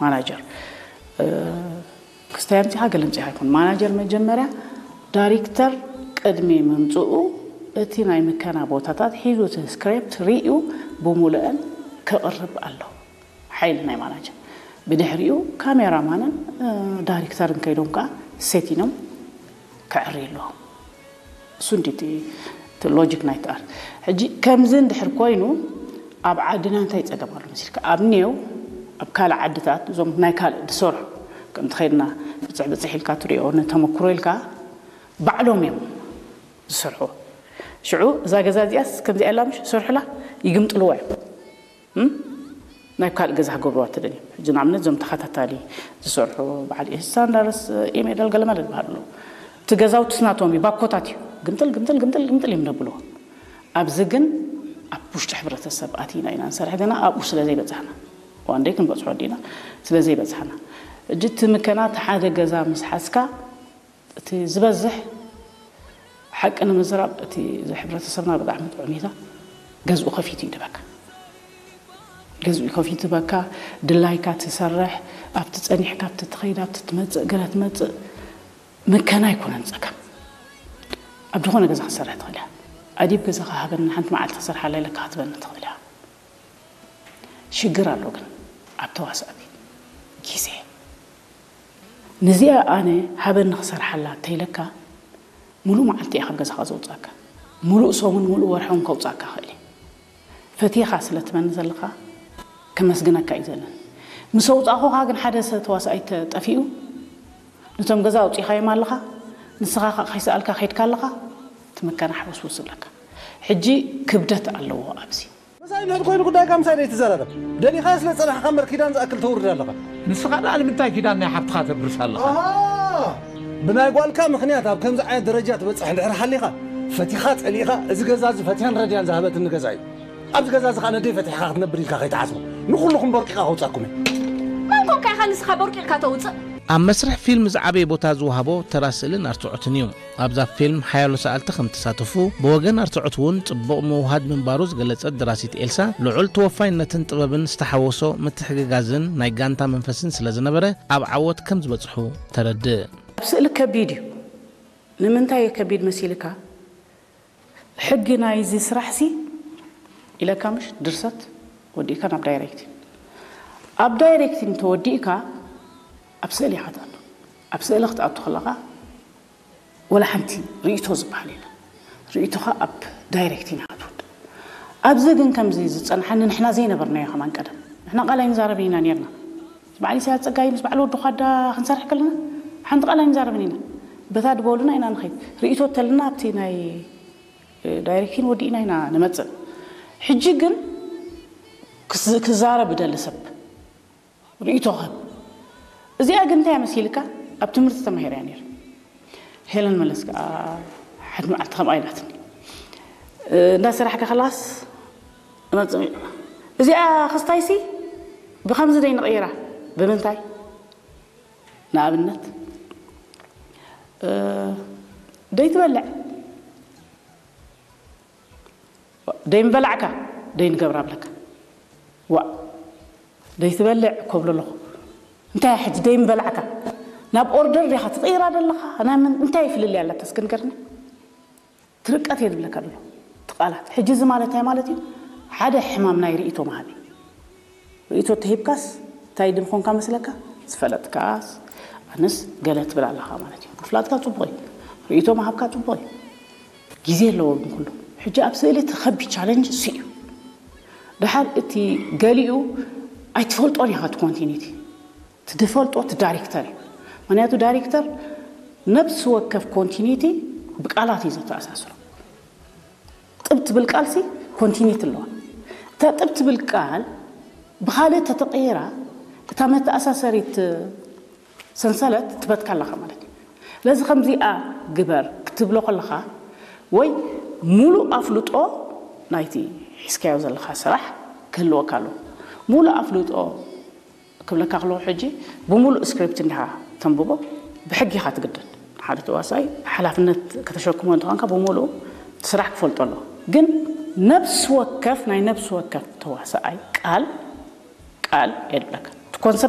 ማናጀር ክስታይ ኣምፂኻ ገለ ኣምፂኻ ኣይኮን። ማናጀር መጀመርያ ዳይሬክተር ቅድሚ ምምፅኡ እቲ ናይ ምከና ቦታታት ሒዙ እቲ ስክሪፕት ርእዩ ብምሉአን ከቕርብ ኣለዎ ሓይሊ ናይ ማናጀር። ብድሕሪኡ ካሜራማንን ዳይሬክተርን ከይዶም ከዓ ሴቲኖም ከዕሪ ኣለዎም። እሱ እንዲ እቲ ሎጂክ ናይቲ ኣርት። ሕጂ ከምዚ እንድሕር ኮይኑ ኣብ ዓድና እንታይ ፀገም ኣሎ መሲልካ? ኣብ ኔው ኣብ ካልእ ዓድታት እዞም ናይ ካልእ ዝሰርሑ ከምቲ ከይድና ብፅሕ ብፅሕ ኢልካ ትሪኦ ንተመክሮ ኢልካ ባዕሎም እዮም ዝሰርሑ። ሽዑ እዛ ገዛ እዚኣስ ከምዚኣ ኢላ ምሽ ዝሰርሑላ ይግምጥልዋ እዮም። ናይ ካልእ ገዛ ክገብርዋ ተደልዮም ሕጂ ንኣብነት እዞም ተኸታታሊ ዝሰርሑ በዓል ኢሳንዳርስ ኢሜደል ገለመለ ዝበሃሉ ኣለዉ። እቲ ገዛውትስ ናቶም እዩ ባኮታት እዩ። ግምጥል ግምጥል ግምጥል ግምጥል እዮም ደብልዎ። ኣብዚ ግን ኣብ ውሽጢ ሕብረተሰብ ኣቲና ኢና ንሰርሕ ገና ኣብኡ ስለ ዘይበፃሕና ዋንደይ ክንበፅሖ ዲና ስለ ዘይበፃሕና። ሕጂ እቲ ምከና እቲ ሓደ ገዛ ምስ ሓዝካ እቲ ዝበዝሕ ሓቂ ንምዝራብ እቲ እዚ ሕብረተሰብና ብጣዕሚ ጥዑም እዩ። ገዝኡ ከፊቱ ይድበካ ገዝኡ ከፊቱ በካ ድላይካ ትሰርሕ ኣብቲ ፀኒሕካ ኣብቲ ትኸይድ ኣብቲ ትመፅእ ገለ ትመፅእ ምከና ኣይኮነን ፀገም ኣብ ዝኾነ ገዛ ክትሰርሕ ትኽእል እያ ኣዲብ ገዛኻ ሃበኒ ሓንቲ መዓልቲ ክሰርሓላ ኢለካ ክትበኒ ትኽእል እያ ሽግር ኣሎ ግን ኣብ ተዋሳእቲ ግዜ ንዚኣ ኣነ ሃበኒ ክሰርሓላ እንተይለካ ሙሉእ መዓልቲ እያ ካብ ገዛኻ ዘውፅኣካ ሙሉእ ሰሙን ሙሉእ ወርሒ እውን ከውፅኣካ ክእል እየ ፈቲኻ ስለ ትመኒ ዘለኻ ከመስግነካ እዩ ዘለኒ ምስ ኣውፃእኹኻ ግን ሓደ ሰብ ተዋሳኣይ ተጠፊኡ ነቶም ገዛ ኣውፂኻዮም ኣለኻ ንስኻ ከዓ ከይሰኣልካ ከይድካ ኣለኻ ትምከና ሕውስውስ ዝብለካ ሕጂ ክብደት ኣለዎ ኣብዚ ምሳይ እንድሕር ኮይኑ ጉዳይካ ምሳይ ዘይትዘራረብ ደሊኻ ስለ ጸናሕካ እምበር ኪዳን ዝኣክል ተውርድ ኣለኻ። ንስኻ ደኣ ንምንታይ ኪዳን ናይ ሓብትኻ ተብርስ ኣለኻ? ኣሃ! ብናይ ጓልካ ምኽንያት ኣብ ከምዚ ዓይነት ደረጃ ትበጽሕ እንድሕር ሓሊኻ፣ ፈቲኻ ጸሊእኻ፣ እዚ ገዛ እዚ ፈቲያን ረድያን ዝሃበትኒ ገዛ እዩ። ኣብዚ ገዛ እዚ ኸኣ ነደይ ፈቲሕካ ክትነብር ኢልካ ከይትሓስቦ። ንኹልኹም ቦርቂኻ ከውጻኩም እየ። መን ኮንካ ኢኻ ንስኻ ቦርቂቕካ ተውጽእ? ኣብ መስርሕ ፊልም ዝዓበየ ቦታ ዝወሃቦ ተራ ስእልን ኣርትዖትን እዩ። ኣብዛ ፊልም ሓያሎ ሰኣልቲ ከም ተሳተፉ፣ ብወገን ኣርትዖት እውን ጽቡቕ ምውህሃድ ምንባሩ ዝገለጸት ደራሲት ኤልሳ፣ ልዑል ተወፋይነትን ጥበብን ዝተሓወሶ ምትሕግጋዝን ናይ ጋንታ መንፈስን ስለ ዝነበረ፣ ኣብ ዓወት ከም ዝበጽሑ ተረድእ። ኣብ ስእሊ ከቢድ እዩ። ንምንታይ እዩ ከቢድ መሲልካ? ሕጊ ናይዚ ስራሕሲ ኢለካ ምሽ ድርሰት ወዲእካ ናብ ዳይሬክቲንግ ኣብ ዳይሬክቲንግ ተወዲእካ ኣብ ስእሊ ኢኻ ትኣቱ ኣብ ስእሊ ክትኣቱ ከለኻ ወላ ሓንቲ ርእቶ ዝበሃል የለ ርእቶኻ ኣብ ዳይሬክቲንግ ኢኻ ትወድእ ኣብዚ ግን ከምዚ ዝፀንሓኒ ንሕና ዘይነበርናዮ ከማን ቀደም ንሕና ቃል ኣይንዛረብን ኢና ነርና በዓል ኢሳያስ ፀጋይ ምስ በዓል ወዲ ኳዳ ክንሰርሕ ከለና ሓንቲ ቃል ኣይንዛረብን ኢና በታ ድበሉና ኢና ንኸይድ ርእቶ ተልና ኣብቲ ናይ ዳይሬክቲን ወዲእና ኢና ንመፅእ ሕጂ ግን ክዛረብ ደሊ ሰብ ርእቶ ክህብ እዚኣ ግን እንታይ መሲልካ ኣብ ትምህርቲ ተማሂረ እያ ነይረ ሄለን መለስ ከዓ ሓድ መዓልቲ ከምኣ ኢላትኒ እንዳሰራሕካ ከላስ መፅእ እዚኣ ክስታይሲ ብከምዚ ደይ ንቕይራ ብምንታይ ንኣብነት ደይ ትበልዕ ደይ ምበላዕካ ደይ ንገብራ ብለካ ዋ ደይ ትበልዕ ኮብሎ ኣለኹ እንታይ ሕጂ ደይ ምበላዕካ ናብ ኦርደር ዲኻ ትቕይራ ደለኻ ናይ ምን እንታይ ፍልልይ ኣለካ እስኪ ንገርኒ ትርቀት እየ ዝብለካ ደሎ ትቃላት ሕጂ እዚ ማለት እንታይ ማለት እዩ ሓደ ሕማም ናይ ርእይቶ መሃቢ ርእይቶ ተሂብካስ እንታይ ድምኾንካ መስለካ ዝፈለጥካስ ኣነስ ገለ ትብል ኣለኻ ማለት እዩ ምፍላጥካ ፅቡቕ እዩ ርእይቶ መሃብካ ፅቡቕ እዩ ግዜ ኣለዎ ግን ኩሉ ሕጂ ኣብ ስእሊ እቲ ከቢድ ቻለንጅ እሱ እዩ ድሓር እቲ ገሊኡ ኣይትፈልጦን ኢኻ እቲ ኮንቲኒቲ እቲ ድፈልጦ እቲ ዳይሬክተር እዩ ምክንያቱ ዳይሬክተር ነብሲ ወከፍ ኮንቲኒቲ ብቃላት እዩ ዘተኣሳስሮ ጥብ ትብል ቃልሲ ኮንቲኒቲ ኣለዋ እታ ጥብ ትብል ቃል ብኻልእ ተተቀይራ እታ መተኣሳሰሪት ሰንሰለት ትበትካ ኣለኻ ማለት እዩ ስለዚ ከምዚኣ ግበር ክትብሎ ከለኻ ወይ ሙሉእ ኣፍልጦ ናይቲ ሒዝካዮ ዘለኻ ስራሕ ክህልወካ ኣለዎ ሙሉእ ኣፍልጦ ክብለካ ከለኹ ሕጂ ብሙሉእ ስክሪፕት እንዲኻ ተንብቦ ብሕጊ ኢኻ ትግደድ ሓደ ተዋሳኢ ሓላፍነት ከተሸክሞ እንተኾንካ ብሙሉእ እቲ ስራሕ ክፈልጦ ኣለዎ ግን ነብሲ ወከፍ ናይ ነብሲ ወከፍ ተዋሳኣይ ቃል ቃል የድብለካ እቲ ኮንሰፕት